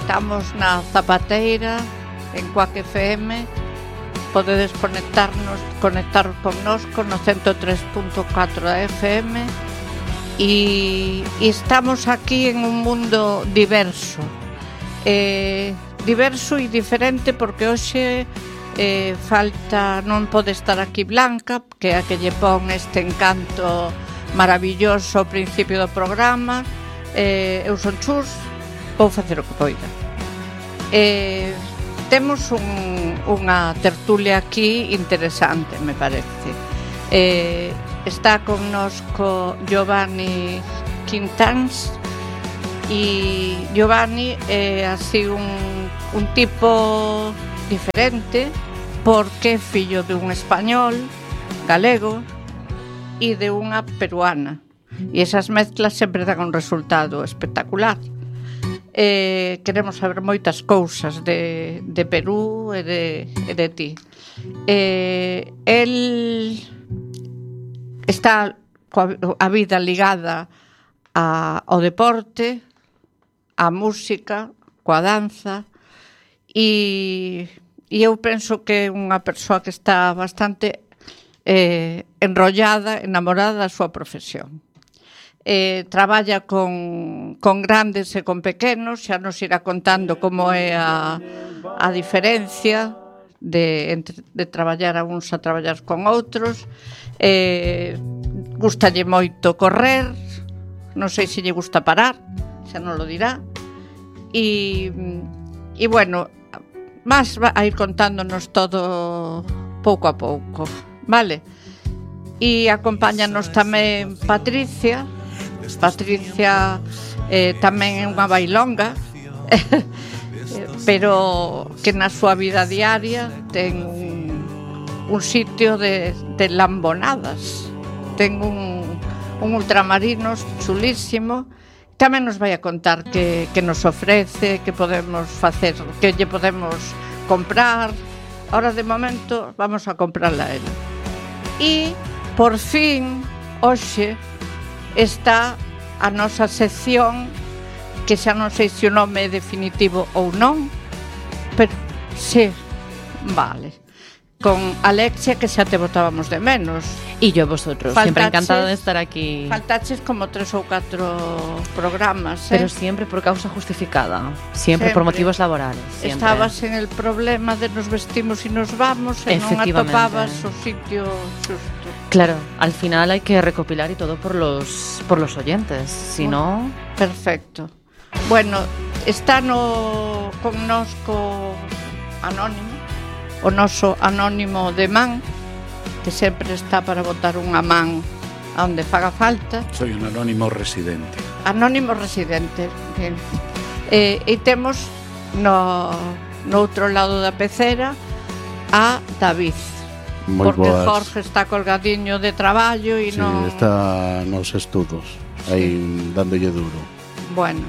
Estamos na Zapateira, en Cuac FM. Podedes conectar connosco no 103.4 da FM. E estamos aquí en un mundo diverso. Diverso e diferente porque hoxe non pode estar aquí Blanca, que é a que lle pon este encanto maravilloso ao principio do programa. Eu son Chus, vou facer o que poida. Temos unha tertulia aquí interesante, me parece. Está connosco Giovanni Quintáns, e Giovanni é así un tipo diferente porque é fillo de un español galego e de unha peruana, e esas mezclas sempre dan un resultado espectacular. Queremos saber moitas cousas de Perú e de ti. El está a vida ligada ao deporte, á música, coa danza, e eu penso que é unha persoa que está bastante enrollada, enamorada da súa profesión. Traballa con grandes e con pequenos, xa nos irá contando como é a diferencia de traballar a uns a traballar con outros. Gústalle moito correr, non sei se lle gusta parar, xa non lo dirá. E bueno, máis va a ir contándonos todo pouco a pouco, vale? E acompáñanos tamén Patricia tamén é unha bailonga, pero que na súa vida diaria ten un sitio de lambonadas, ten un ultramarinos chulísimo. Tamén nos vai a contar que nos ofrece, que podemos facer, que lle podemos comprar. Ahora de momento vamos a comprarla a ela. E por fin hoxe está a nosa sección, que xa non sei se o nome é definitivo ou non, pero sí, vale, con Alexia, que xa te botábamos de menos. E yo vosotros, siempre encantada de estar aquí. Faltaches como 3 ou 4 programas, pero siempre por causa justificada, siempre por motivos laborales, siempre. Estabas en el problema de nos vestimos e nos vamos e non atopabas o sitio xusto. Claro, al final hay que recopilar y todo por los oyentes, si no... Perfecto. Bueno, está connosco Anónimo, o noso Anónimo de man, que sempre está para botar unha man onde faga falta. Soy un anónimo residente. Anónimo residente, bien. E temos no outro lado da pecera a David. Moi porque boas. Jorge está colgadiño de traballo e sí, non... está nos estudos, aí dándolle duro. Bueno,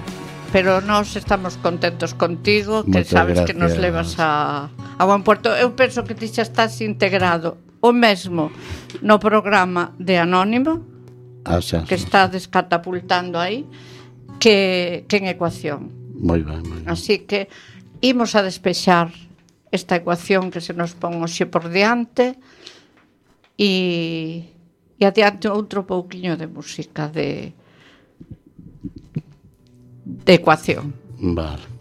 pero nós estamos contentos contigo, que Moitas sabes gracias. que nos levas a buen puerto. Eu penso que ti xa estás integrado o mesmo no programa de Anónimo, que está descatapultando aí, que en Ecuación. Moi ben, moi ben. Así que imos a despexar esta ecuación que se nos pon hoxe por diante e adiante outro pouquiño de música de ecuación. Vale.